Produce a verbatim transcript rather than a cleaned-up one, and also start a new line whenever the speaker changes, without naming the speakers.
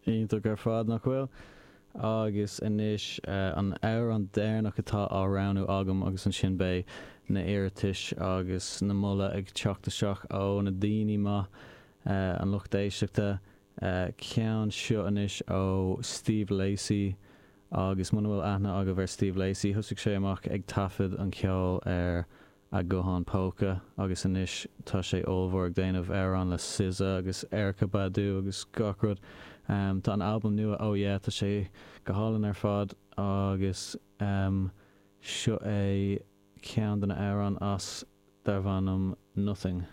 Iontach ar fad, nach bhfuil? Agus anois an amhrán deireanach atá á roghnú agam agus ansin beidh na hiarratais agus na moladh ag teacht isteach ó na daoine maith, an lucht éisteachta. Ceann seo anois ó Steve Lacy agus muna bhfuil aithne agaibh ar Steve Lacy, thosaigh sé amach ag taifead an ceol ar a ghuthán póca agus anois tá sé ollmhór ag déanamh amhrán le SZA agus Erykah Badu agus gach rud. Um, tá an albam nua Oh Yeah, tá sé go hálainn ar fad agus um, seo é ceann de na amhráin as darb ainm Nothing.